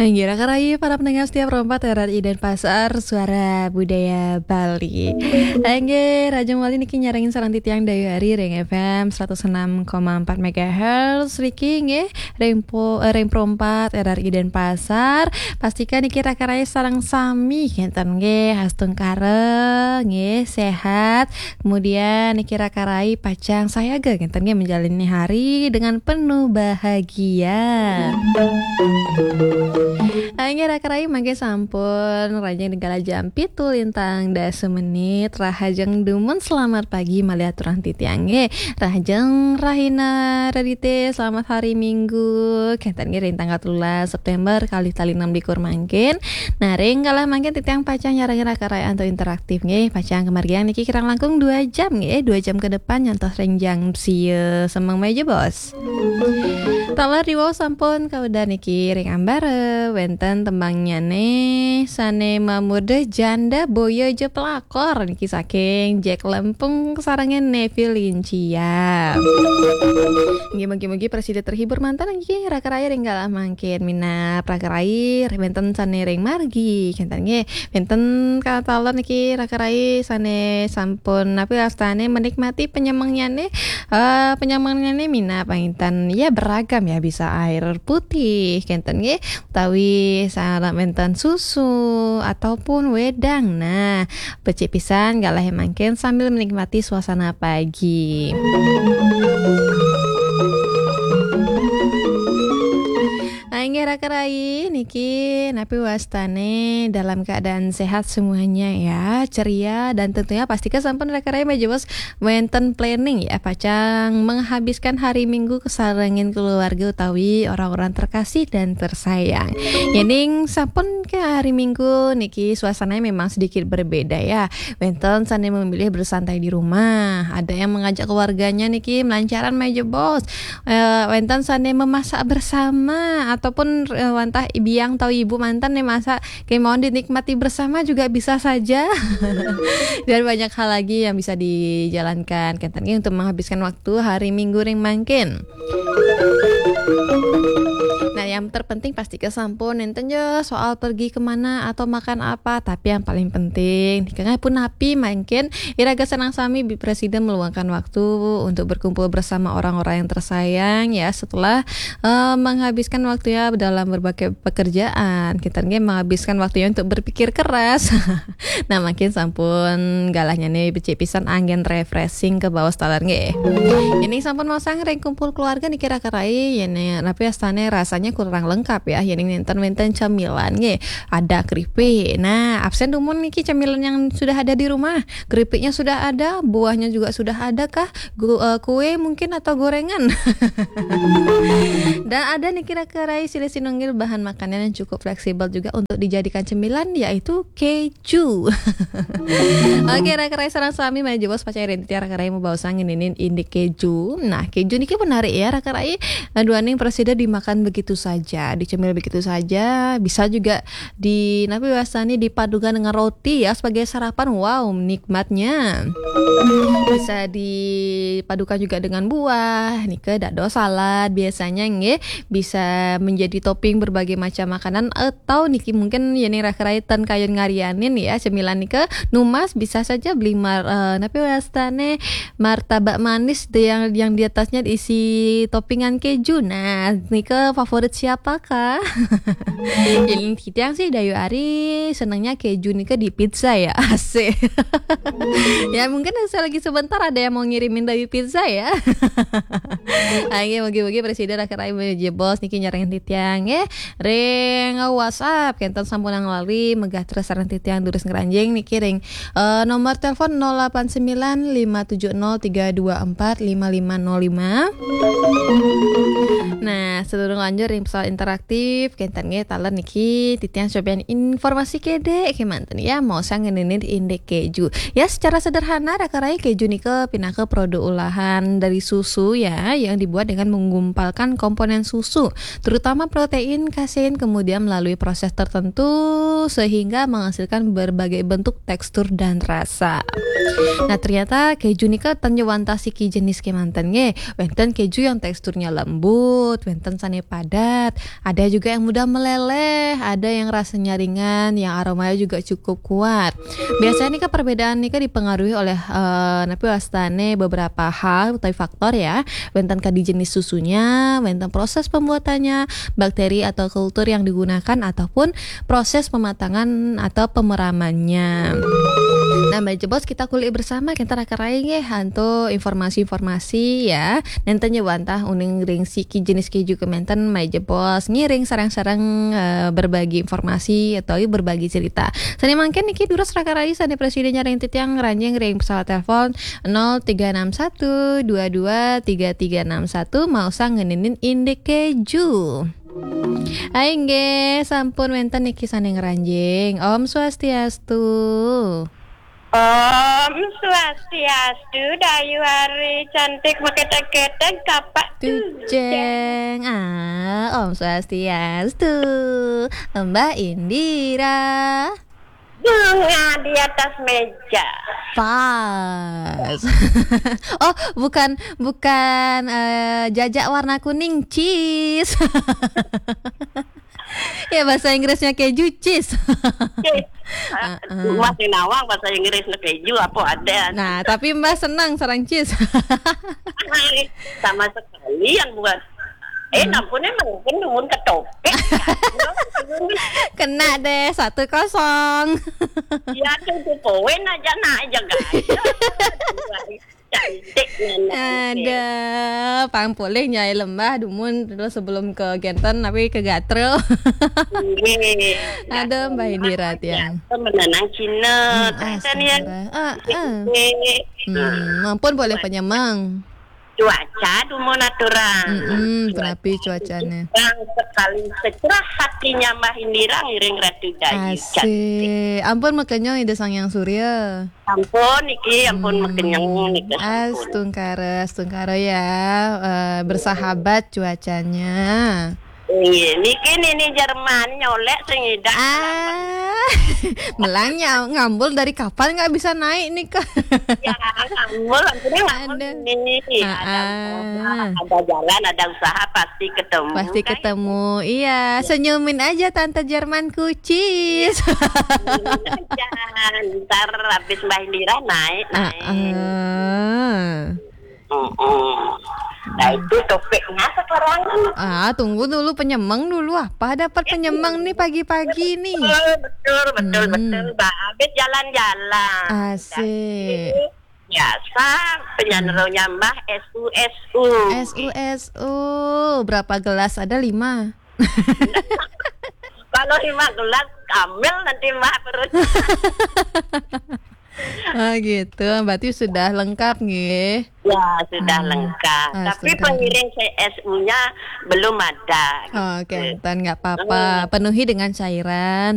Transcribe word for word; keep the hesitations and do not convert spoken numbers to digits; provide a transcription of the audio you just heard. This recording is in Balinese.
Inggih, raka rayi para pendengar setia Pro empat R R I Denpasar, Suara Budaya Bali. Inggih, rahajeng malih niki nyarengin sareng titiang Dayu Ari ring F M seratus enam koma empat megahertz niki nggih, ring po-, eh, ring Pro empat R R I Denpasar. Pastikan niki raka rayi sareng sami kenten nggih, astungkara nggih, sehat. Kemudian niki raka rayi pacang sayaga kenten nggih, menjalani hari dengan penuh bahagia. Inggih, raka rayi mangke sampun rahajeng ring galah jam pitu lintang dasa menit. Rahajeng dumun selamat pagi malih aturang titiang nggih. Rahajeng rahina redite, selamat hari Minggu. Kenten nggih, ring tanggal telulas September kalih tali enam likur mangkin. Nah, ring galah mangkin titiang pacang nyarengin raka rayi antuk interaktif nggih. Pacang kamargiang niki kirang langkung dua jam nggih, dua jam ke depan nyantos ring jam sia semeng meja, Bos. Taler riwau sampun kawedar niki ring ambara, wenten tembangnyane sane mamurda Janda Boya Ja Pelakor niki saking Jack Lempung sarengin Nevi Lincia. Nggih, mugi-mugi prasida terhibur manten nggih, raka rayi ring galah mangkin minab raka rayi wenten sane ring margi, kenten nggih. Wenten kataler niki raka rayi sane sampun napi wastane menikmati penyamengnyan, eh, penyamengnyan minab panginten. Ya, beragam ya, bisa air putih, kenten nggih, utawi sareng wenten susu ataupun wedang. Nah, becik pisan galah mangkin sambil menikmati suasana pagi. Nah, inggih raka rayi niki napi wastane dalam keadaan sehat semuanya ya, ceria, dan tentunya pastika sampun raka rayi majebos wenten planning ya, pacang menghabiskan hari Minggu kesarengin keluarga utawi orang-orang terkasih dan tersayang. Yening sampun ke hari Minggu niki suasananya memang sedikit berbeda ya. Wenten sane memilih bersantai di rumah, ada yang mengajak keluarganya niki melancaran majebos. Eh, wenten sane memasak bersama ataupun, eh, wantah biang atau ibu manten nih masak, kemawon dinikmati bersama juga bisa saja. Dan banyak hal lagi yang bisa dijalankan kenten nggih untuk menghabiskan waktu hari Minggu ring mangkin. Nah, yang terpenting pastika sampun nenten ya soal pergi kemana atau makan apa, tapi yang paling penting nika punapi mangkin iraga sareng sami bi-, prasida meluangkan waktu untuk berkumpul bersama orang-orang yang tersayang ya, setelah, eh, menghabiskan waktunya dalam berbagai pekerjaan. Kita nggih menghabiskan waktunya untuk berpikir keras. Nah, mangkin sampun galahnya nih becik pisan anggen refreshing ke bawah taler nggih. Ini sampun maosang ring kumpul keluarga niki raka rayi, yene napi astane rasanya kurang lengkap ya. Yene nenten-nenten camilan nggih. Ada keripik. Nah, absen dumun niki camilan yang sudah ada di rumah. Keripiknya sudah ada, buahnya juga sudah ada kah? Gu-, eh, kue mungkin atau gorengan. Dan ada niki raka rayi silih sinunggil bahan makanan yang cukup fleksibel juga untuk dijadikan cemilan, yaitu keju. Oke, raka rayi sareng sami majebos pacang ring titiang raka rayi mabaosang ngeninin indik keju. Nah, keju niki menarik ya, raka rayi. Duaning prasida dimakan begitu saja, dicemil begitu saja, bisa juga di, napi wastane, dipadukan dengan roti ya sebagai sarapan. Wow, nikmatnya. Bisa dipadukan juga dengan buah, nika dados salad biasanya nggih. Bisa menjadi topping berbagai macam makanan atau niki mungkin yene raka rayi ten kayun ngarianin ya cemilan nika numas, bisa saja beli mar-, eh, napi wastane, martabak manis de-, yang, yang di atasnya diisi toppingan keju. Nah, nika favorit siapakah? Yang titiang sih Dayu Ari senangnya keju nika di pizza ya. Asik. Ya, mungkin saya lagi sebentar ada yang mau ngirimin Dayu pizza ya. Ayo, mugi-mugi prasida raka rayi majebos niki nyarengin titiang ya. Ring WhatsApp kenten sampun lali megah terus sareng titiang durus ngranjing niki ring, eh, nomor telepon nol delapan sembilan lima tujuh nol tiga dua empat lima lima nol lima. Nah, sedurung lanjur ring pesawat interaktif, kenten nggih taler niki titiang cobian informasi kedek kemanten ya, maosang ngeninin indik keju. Ya, secara sederhana raka rayi keju nika pinaka produk olahan dari susu ya, yang dibuat dengan menggumpalkan komponen susu, terutama protein, kasein, kemudian melalui proses tertentu sehingga menghasilkan berbagai bentuk, tekstur, dan rasa. Nah, ternyata keju nika ten wantah siki jenis kemanten nggih. Wenten keju yang teksturnya lembut, wenten sane padat, Ada juga yang mudah meleleh, ada yang rasanya ringan, yang aromanya juga cukup kuat. Biasanya nih kan perbedaan nih kan dipengaruhi oleh eh, napi wastane beberapa hal atau faktor ya. Wénten kadi jenis susunya, wénten proses pembuatannya, bakteri atau kultur yang digunakan ataupun proses pematangan atau pemeramannya. Nah, Mbak Jebos, kita kulik bersama, kita raka rai nggih antuk informasi-informasi ya. Nénten ya wantah uning ring siki jenis keju keménten, Mbak Jebos ngiring sareng-sareng eh, berbagi informasi atau berbagi cerita. Sané mangkin niki durus raka rai sané prasida nyaring titiang ngranjing ring pesawat telepon nol tiga enam satu dua dua tiga tiga enam satu, mau sang ngeninin indik keju. Hai nggih, sampun wénten niki sané ngranjing. Om Swastiastu. Om Swastiastu, Dayu Ari cantik maketek-ketek kapak tujeng. Ah, Om Swastiastu. Mbak Indira. Bunga di atas meja. Pas. Oh, bukan bukan eh, jajak warna kuning, cheese. Ya, bahasa Inggrisnya keju, cheese. Cheese. Heeh. Masih nawang bahasa Inggris na keju apa ada. Nah, tapi Mbah senang sareng cheese. Sama sekali yang buat eh, hmm. Nampun emang kan dumun ketopik. Kena deh, satu kosong. Ya, tuh poin aja, nah, aja, guys. Cantik, nah, nah, ada, pang polih nyai lembah dumun terus sebelum ke genten tapi ke gatrel. Nggih. Ada Mbah Indira tiang. Menenang Cina, hmm, astaga. Ah, ah. Hmm, mampun boleh penyemang. Cuaca dumun aturan. Mm-mm, cuaca tenapi cuacanya. Bang sekali secerah hatinya Mbah Indira ngiring Ratu Dayu. Asik. Ampun makenyong Ida Sang Hyang Surya. Ampun niki, ampun hmm, makenyong niki. Astungkara, astungkara ya. Eh, bersahabat cuacanya. Iya, niki nini Jerman nyolek sing idak. Ah, melangnya ngambul dari kapan nggak bisa naik nih kak? Ya, ngambul, ampun ngambul ada. Nih. Ah, ada, ah. Ada jalan, ada usaha pasti ketemu. Pasti ketemu. Iya, ya. Senyumin aja tante Jerman kucis. Senyumin aja. Ntar habis Mbah Indira naik, naik. Ah, ah. Mm-mm. Nah, itu topiknya sekarang. Ah, tunggu dulu, penyemang dulu. Apa dapat penyemang nih pagi-pagi nih? Betul, betul, betul, hmm, betul. Mbak Abid jalan-jalan. Asik. Jadi, biasa penyanyi nyambah S U S U. S U S U. Berapa gelas? Ada lima. Kalau lima gelas, kamel nanti Mbak perut. Oh gitu, berarti sudah lengkap nggih. Ya, sudah hmm, lengkap. Tapi pengiring C S U-nya belum ada. Oh, oke, gitu. Nggak apa-apa. Hmm. Penuhi dengan cairan.